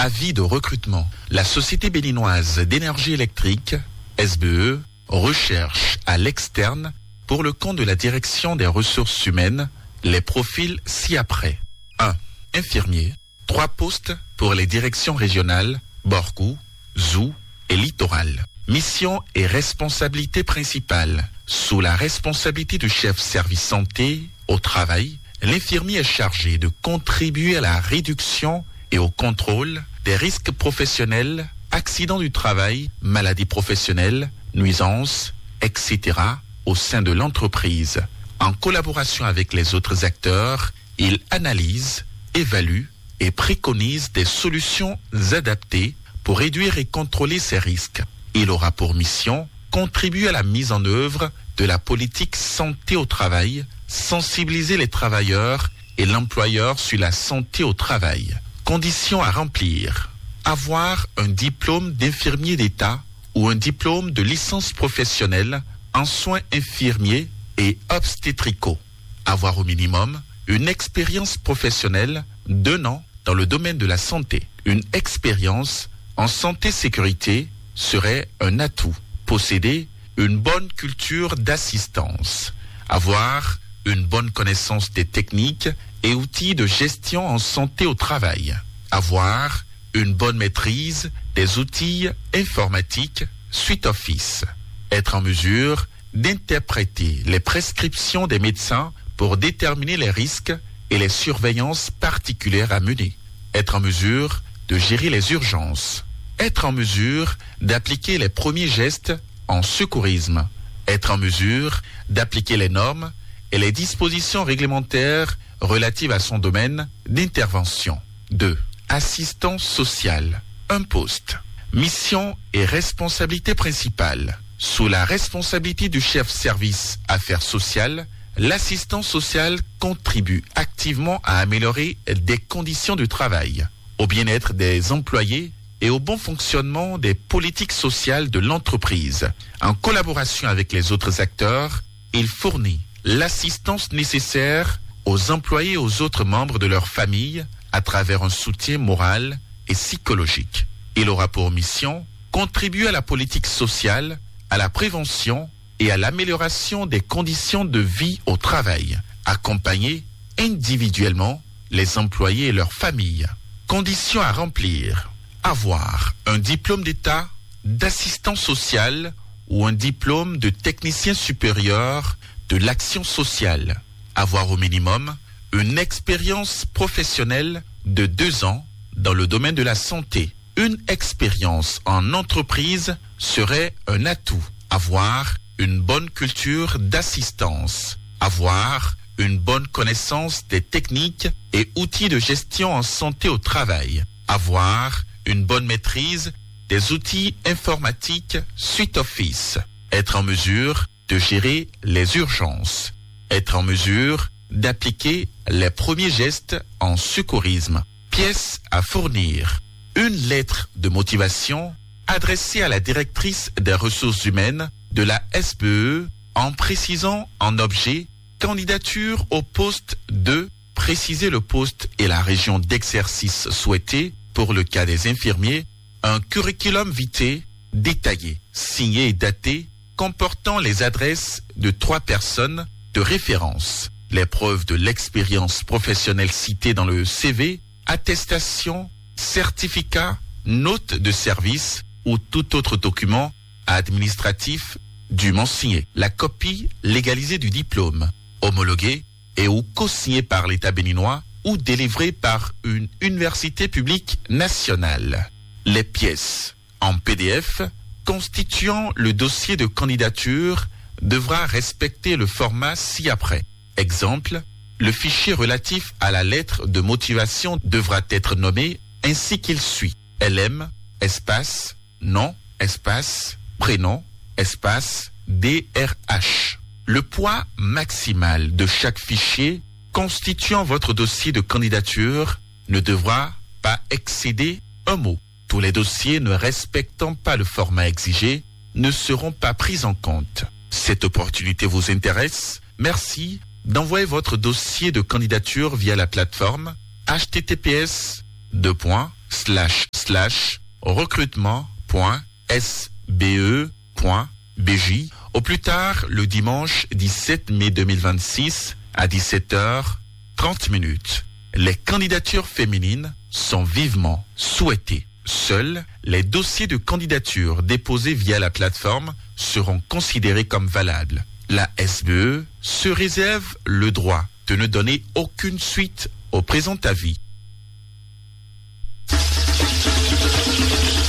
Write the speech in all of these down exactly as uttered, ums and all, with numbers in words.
Avis de recrutement. La Société béninoise d'énergie électrique, S B E, recherche à l'externe, pour le compte de la direction des ressources humaines, les profils ci-après. Un. Infirmier. Trois postes pour les directions régionales, Borkou, Zou et Littoral. Mission et responsabilité principale. Sous la responsabilité du chef service santé au travail, l'infirmier est chargé de contribuer à la réduction et au contrôle des risques professionnels, accidents du travail, maladies professionnelles, nuisances, et cetera, au sein de l'entreprise. En collaboration avec les autres acteurs, il analyse, évalue et préconise des solutions adaptées pour réduire et contrôler ces risques. Il aura pour mission contribuer à la mise en œuvre de la politique santé au travail, sensibiliser les travailleurs et l'employeur sur la santé au travail. Conditions à remplir. Avoir un diplôme d'infirmier d'État ou un diplôme de licence professionnelle en soins infirmiers et obstétricaux. Avoir au minimum une expérience professionnelle d'un an dans le domaine de la santé. Une expérience en santé sécurité serait un atout. Posséder une bonne culture d'assistance. Avoir une bonne connaissance des techniques et outils de gestion en santé au travail. Avoir une bonne maîtrise des outils informatiques Suite Office. Être en mesure d'interpréter les prescriptions des médecins pour déterminer les risques et les surveillances particulières à mener. Être en mesure de gérer les urgences. Être en mesure d'appliquer les premiers gestes en secourisme. Être en mesure d'appliquer les normes et les dispositions réglementaires relatives à son domaine d'intervention. Deux. Assistant social. Un poste. Mission et responsabilité principale. Sous la responsabilité du chef service affaires sociales, l'assistant social contribue activement à améliorer des conditions de travail, au bien-être des employés et au bon fonctionnement des politiques sociales de l'entreprise. En collaboration avec les autres acteurs, il fournit l'assistance nécessaire aux employés et aux autres membres de leur famille à travers un soutien moral et psychologique. Il aura pour mission contribuer à la politique sociale, à la prévention et à l'amélioration des conditions de vie au travail, accompagner individuellement les employés et leurs familles. Conditions à remplir. Avoir un diplôme d'État d'assistant social ou un diplôme de technicien supérieur de l'action sociale. Avoir au minimum une expérience professionnelle de deux ans dans le domaine de la santé. Une expérience en entreprise serait un atout. Avoir une bonne culture d'assistance. Avoir une bonne connaissance des techniques et outils de gestion en santé au travail. Avoir une bonne maîtrise des outils informatiques Suite Office. Être en mesure de gérer les urgences. Être en mesure d'appliquer les premiers gestes en secourisme. Pièces à fournir. Une lettre de motivation adressée à la directrice des ressources humaines de la S B E en précisant en objet candidature au poste deux, préciser le poste et la région d'exercice souhaitée pour le cas des infirmiers, un curriculum vitae détaillé, signé et daté, comportant les adresses de trois personnes de référence, les preuves de l'expérience professionnelle citée dans le C V, attestation, certificat, note de service ou tout autre document administratif dûment signé, la copie légalisée du diplôme, homologué et ou co-signé par l'État béninois ou délivré par une université publique nationale. Les pièces en P D F constituant le dossier de candidature devra respecter le format ci-après. Exemple, le fichier relatif à la lettre de motivation devra être nommé ainsi qu'il suit : L M, espace, nom, espace, prénom, espace, D R H. Le poids maximal de chaque fichier constituant votre dossier de candidature ne devra pas excéder un mot. Tous les dossiers ne respectant pas le format exigé ne seront pas pris en compte. Cette opportunité vous intéresse ? Merci d'envoyer votre dossier de candidature via la plateforme H T T P S deux points slash slash recrutement point S B E point B J, au plus tard le dimanche dix-sept mai deux mille vingt-six à dix-sept heures trente minutes. Les candidatures féminines sont vivement souhaitées. Seuls les dossiers de candidature déposés via la plateforme seront considérés comme valables. La S B E se réserve le droit de ne donner aucune suite au présent avis.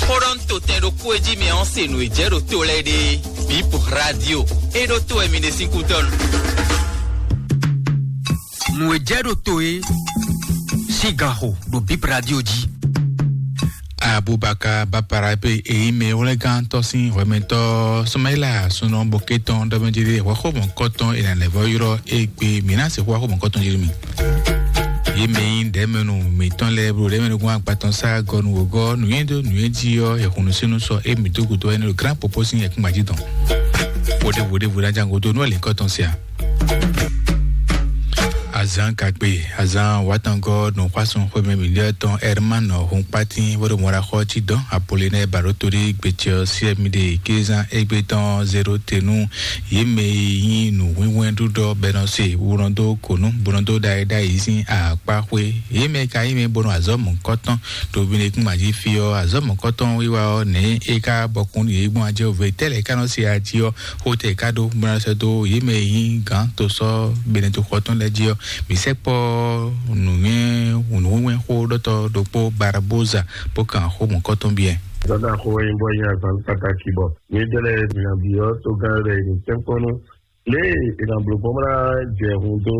Xó ɖɔ nú totɛn ɖokpó e jí mi ɔ́ se nǔ e jɛ ɖo to lɛ́ɛ ɖe. Bip Radio. E ɖo to wɛ mi ɖe sín kútɔ́nu. Nǔ e jɛ ɖo to e sín gan xo ɖo Bip Radio jí. Abubakar Bapara pe èyí mɛ wlɛ́gántɔ́ sín hwɛmɛtɔ́ Sumaila súnɔ bɔkɛtɔn ɖɔmɛjiri hwɛxɔmɔkɔtɔn ìlànà vɔ ylɔ́ égbé mǐ ná sixú hwɛxɔmɔkɔtɔn jí mi. Yě mɛ nyí ɖɛ̌mɛnu mǐtɔn lɛ́ɛ blo ɖɛ̌mɛnu gún agbatɔn sá gɔnu wǒgɔ́ nǔnywɛ́dó nǔnywɛ́jí ɔ́ yɛhunusínú sɔ émí dó gǔdo ɛnɛ ɖo grán popó sín yɛkúngban jí tɔn. Wǒɖéwǒɖéwǒ ná ján gúdo nú ɔ́ lǐnkɔ́tɔn se ǎ. Azan gagbe, azan watangɔ nɔ xwasun xwemɛ miliɔ tɔn Herman Hunkpatin wɛrɛ mɔra xɔ ci dɔn Apollinaire Barotori gbetsɛ ɔ́ siɛ mi ɖe kézan egbe tɔn zero tenu yě mɛ e nyí nǔwínwɛ́n ɖuɖɔ bɛnɔ se wunɔ dó konu bonɔ dó ɖayi ɖayi sín akpa xwé yě mɛ ka nyí mɛ bonɔ azɔ̌ mɔ̌kɔtɔn ɖo Benɛkún mají fí ɔ́ azɔ̌ mɔ̌kɔtɔn wiwa ɔ́ nɛ̌ é ka bɔkun yě gbɔn ajɛ ove tɛ́ lɛ̌ ka nɔ se ají ɔ́ xó tɛ ká ɖó bó ná sɛ́ dó yě mɛ e nyí gǎn tosɔ́ Benɛto xɔ tɔn lɛ́ɛ jí ɔ́, mǐ sɛkpɔ́ nǔnywɛ́ nǔnywɛ́ xó ɖɔtɔ́ ɖokpó Barboza bó kan xó mɔ̌kɔtɔn biɛ. Dɔda xo wɛ nyí bɔ nyí azan pataki bɔ nyí dɛlɛ mìabi ɔ́ togán lɛ ní tɛnkpɔnú lé ìnàblógbɔn bla jɛ hun dó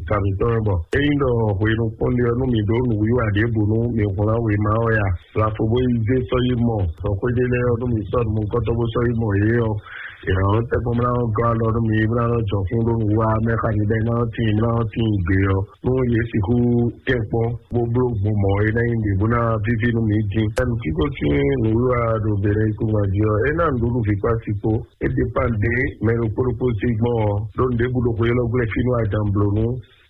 tàbítɔ bɔ eyin dɔ hwenu kpɔnlé ɔ́ nú mi ɖó nǔwiwa ɖěbǔ nú mi hwlán wěma ɔ́ ya. Lafo bó yi zé sɔ́ yi mɔ sɔxwéɖé lɛ́ɛ ɔ́ nú mi sɔ́ nukɔntɔn bó sɔ́ yi mɔ yě ɔ́. Ìrànlọ́wọ́ tɛkpɔ́n mlá ɔ́ gɔ́ alɔ nú mi mlá ɔ́ jɔ fún ɖó nǔ wa mɛ xa mi ɖɛ mlá ɔ́ tíin mlá ɔ́ tíin gbe ɔ́ nú yě sixú tɛkpɔ́n bó bló gbɔn mɔ̌ é ná nyí ɖě bó ná víví nú mi dín. Ɛnu kíkó sín nǔwiwa ɖo bělɛ yíkúngban jí ɔ́, é ná nǔɖuɖu vǐ kpá sikpó. É dépend ɖě mɛ ɖokpó ɖokpó sí gbɔn ɔ́, ɖó nǔɖé búɖo xwe élɔ́ gblɛ́ fínú ajan blǒ nú.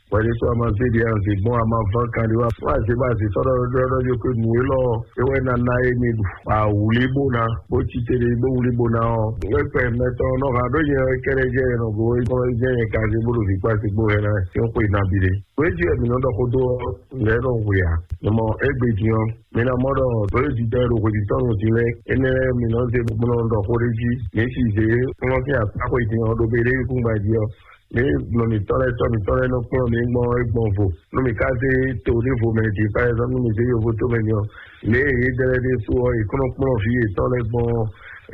Wɛɖésú a ma zé ɖě anzě gbɔn a ma ván kan ɖé wá fún azě bɔ azě sɔ́ ɖɔ ɖɔ ɖɔ ɖɔ ko nǔ élɔ́ é wɛ ná ná é mi ɖu. Awǔlí bó ná bó cí te ɖé bó wlí bó ná ɔ́. Wɛkpɛ mɛtɔn nɔ ha ɖó nyɛ kɛɖɛ jɛ nɔ go é kɔn jɛ nyɛ ka zé bó ɖo vǐ kpá sikpó hɛ ná é xwe ná bi ɖé. Wéjì wɛ mǐ nɔ ɖɔ xó dó ɔ́, nɛ̌ nɔ hwe ǎ? Nyɔmɔ égbé din ɔ́, mi ná mɔ ɖɔ lǒ e jijɛ ɖo hweɖítɔ́nu din lɛ́ɛ énɛ́ lɛ́ɛ mi nɔ zé bó nɔ ɖɔ xó ɖé jí. Mi si zě kplɔ́n sín akpá xwe din ɔ́ ɖo bé ɖé kúngban jí ɔ́, mi nɔ mǐtɔn lɛ́ɛ tɔ́ mǐtɔn lɛ́ɛ nɔ kplɔ́n mi gbɔn é gbɔn vo. Nú mi ka zé to ɖěvo mɛ din, par exemple, nú mi zé yovo tó mɛ din ɔ́, lě e yě dɛ lɛ́ɛ ɖésú ɔ́, è kplɔ́n kplɔ́n vǐ yětɔn lɛ́ɛ gbɔn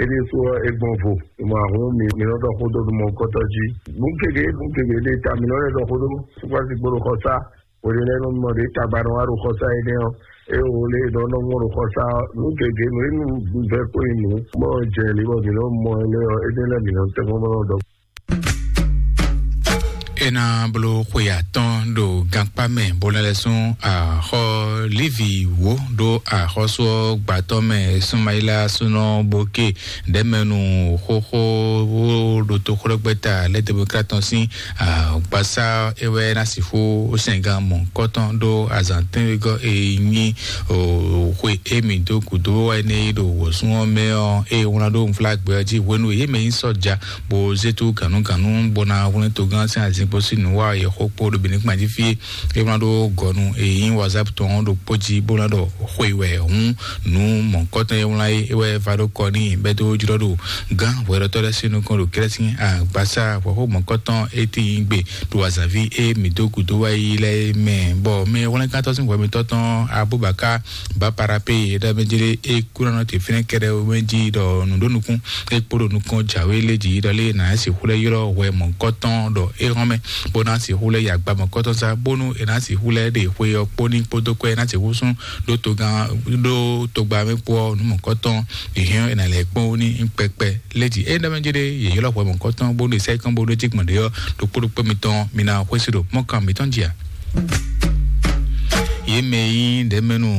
é ɖésú ɔ́, é gbɔn vo. Mɔ ahun mi mi nɔ ɖɔ xó dó nú mɔkɔtɔ jí. Nǔ gěgé nǔ gěgé ɖe ta mi nɔ lɛ́ ɖɔ xó dó sukpasi gbó ɖo xɔsá. Wele lɛ́ɛ nɔ mɔ ɖě tagba nɔ wá ɖo xɔsá énɛ́ ɔ́, é wo lé nɔ nɔ mɔ ɖo xɔsá ɔ́. Nǔ gěgé nǔ e nú vɛ kó yi nǔ mɔ jɛ lě bɔ mǐ nɔ mɔ ɛ lé ɔ́, énɛ́ lɛ́ɛ mǐ nɔ tɛ́ mɔ nɔ ɖɔ. É ná bló xwe atɔ́n ɖo gankpá mɛ bó lɛ́ lɛ́ sún axɔ́ Lévi wǒ ɖó axɔ́sú ɔ́ gbǎtɔ́ mɛ Sumayila súnɔ Boke ɖɛ̌mɛnu xóxó ɖo toxóɖɔgbɛ́ta lɛ́ demokratɔn sín agbasá é wɛ ná sixú sɛngán mɔ̌kɔtɔn ɖó azǎn tɛ́nwegɔ́ e nyí xwe émí dó gǔdo wɛ n'i ɖo wǒsún ɔ́ mɛ ɔ́, ée wlán ɖó unflágbɛ ɔ́ jí hwenu e yě mɛ nyí sɔ́ja bó zé tú gǎnugǎnu bó ná hwlɛ́n togán sín azinkpo sín nǔ wa yě xó kpó ɖo Benin kpán jí fí. É wlán ɖó gɔ̌nu e nyí WhatsApp tɔn ɔ́ ɖokpó jí bó ná ɖɔ xwe wɛ hǔn nǔ mɔ̌kɔtɔn e wlán é é wɛ va ɖó kɔ n'i bɛ́ dó jlɔ́ ɖo gán hwɛɖɔtɔ́ lɛ́ɛ sín nukɔn ɖo kɛ́lɛ́ sín agbasá hwɛ̌xó mɔ̌kɔtɔn é tíin gbe ɖo azǎnví e mǐ dó gǔdo wá yi lɛ́ɛ mɛ, bɔ mɛ hwlɛ́nkántɔ́ sín hwɛmitɔ́ tɔn Abubakar Baparape ɖɔ mɛ jlé é kú nɔ te fínɛ́ kɛɖɛ mɛ jí ɖɔ nǔ ɖó nukún é kpó ɖo nukɔn jǎwe lé jí ɖɔ lé nǎ sixú lɛ́ ylɔ́ hwɛ mɔ̌kɔtɔn ɖɔ é hɔn mɛ, bó ná sixú lɛ́ yi agba mɔ̌kɔtɔn sá, bónú è nǎ sixú lɛ́ ɖe xwe ɔ́ kpó ní kpódó kɔ́ é ná sixú sún ɖó togán ɖó togba mɛ kpó ɔ́ nǔ mɔ̌kɔtɔn è hɛn è nǎ lɛ́ kpɔ́n ní kpɛkpɛ. Lé jí é ɖɔ mɛ jí ɖé yě ylɔ́ hwɛ mɔ̌kɔtɔn bó ɖo sɛ́ kɔn bó ɖó jí gbɔn ɖé ɔ́ ɖo kpóɖokpó mitɔn mi ná xwésí ɖo mɔ́kan mitɔn jí a. Yě mɛ e nyí ɖɛ̌mɛnu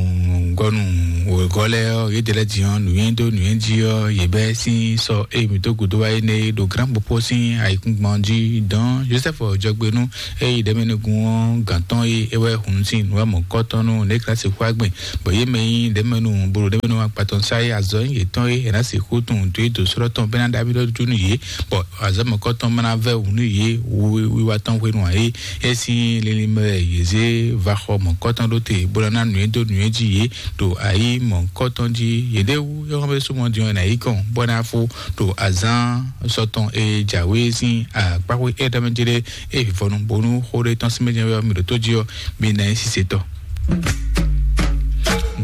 gɔ́nu Wěgɔ́ lɛ́ɛ ɔ́, yě ɖe lɛ́ din ɔ́, nǔnywɛ́ dó nǔnywɛ́ jí ɔ́, yě bɛ́ sín sɔ e mǐ dó gǔdo wá énɛ́ é ɖo Grand Popo sín ayǐkúngban jí dɔn Joseph Jɔgbenu e yi ɖɛ̌mɛnugun ɔ́ gǎn tɔn e é wɛ hun sín nǔ wɛ mɔ̌kɔ́tɔn nú Niklasi Xwágbɛn, bɔ yě mɛ nyí ɖɛ̌mɛnu bolo ɖɛ̌mɛnu akpatɔn sá é azɔ̌ nyí yětɔn é è nǎ sixú tunwun dó é dó srɔ́ tɔn bɛ́ ná ɖo amyɔ ɖó nú yě, bɔ azɔ̌ mɔ̌kɔ́tɔn ma ná vɛ́ wǔ nú yě wiwa tɔn hwenu ǎ é. É sín linlin mɛ wɛ yě zé va xɔ mɔ̌kɔ́tɔn ɖó te bó ná ná nǔnywɛ́ dó nǔnywɛ́ jí yě ɖo ayǐ mɔ̌kɔ́tɔn jí. Yěɖée wú é hɔn bɛ súnmɔ din ɔ́ è nǎ yí kɔn bó ná fó ɖo azǎn sɔtɔn e jǎwe sín akpáxwé é ɖɔmɛ jí ɖé é vivɔnu bónú xó ɖé tɔn sín mɛ jɛ́n wɛ ɔ́ mi ɖo tó jí ɔ́, mi ná nyí sisetɔ.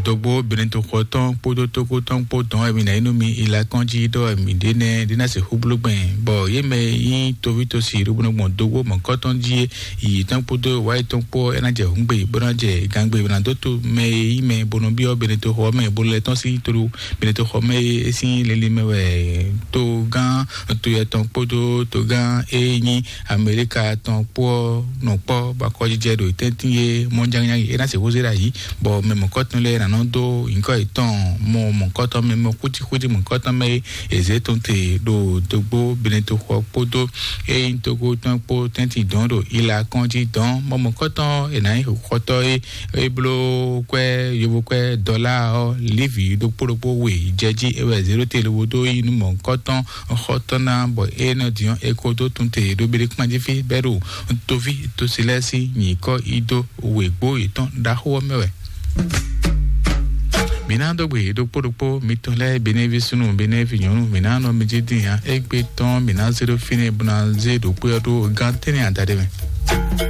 Dogbo Benetoxɔ tɔn kpódó tókó tɔn kpó dɔn wɛ mi ná nyí nú mi ilakɔn jí ɖɔ wɛ mi ɖě nɛ ɖě ná se xúblúgbɛn, bɔ yě mɛ nyí toví tosi ɖo bónú gbɔn dogbo mɔ̌kɔ́tɔn jí é yi tɔn kpódó wáyi tɔn kpó é ná jɛ hǔngbe bó ná jɛ gangbe bó ná dó to mɛ e nyí mɛ bó nɔ byɔ́ Benetoxɔ mɛ bó lɛ́ tɔn sín to Benetoxɔ mɛ e é sín lili mɛ wɛ togán toyɛ tɔn kpódó togán e nyí Amerika tɔn kpó ɔ́ nɔ kpɔ́ bó akɔjijɛ ɖo tɛ́ntin e mɔjánnyányi é ná se xózé ɖo ayǐ, bɔ mɛ mɔ̌kɔtɔn lɛ́ɛ ná nɔ dó nyǐkɔ yětɔn mɔ mɔ̌kɔtɔn mɛ mɔ xújíxújí mɔ̌kɔtɔn mɛ e è zě tɔn te ɖo dogbo Benetoxɔ kpódó e nyí togo tɔn kpó tɛ́ntin dɔn ɖo ila kɔn jí dɔn mɔ mɔ̌kɔtɔn è nǎ nyí xɔtɔ́ e é bló kwɛ́ yovo kwɛ́ dɔlá ɔ́, Livi ɖokpó ɖokpó we jɛ jí é wɛ zěɖó te lobo dó yi nú mɔ̌hunkɔtɔn xɔtɔn ná, bɔ é nɔ diɔn é ko dó tun te ɖo Beɖekpánjí fí bɛ́ ɖo toví tosi lɛ́ɛ sín nyǐkɔ yi dó wěgbó yětɔn ɖaxó ɔ́ mɛ wɛ. Mǐ ná dó gbe ɖokpó ɖokpó mitɔn lɛ́ɛ, Benevi súnnu, Benevi nyɔ̌nu, mǐ ná nɔ mi jí dín ǎ. Égbé tɔn mǐ ná zé ɖó fínɛ́ bó ná zé ɖokpó ɔ́ ɖó gán tɛ́nɛ adaɖé mɛ.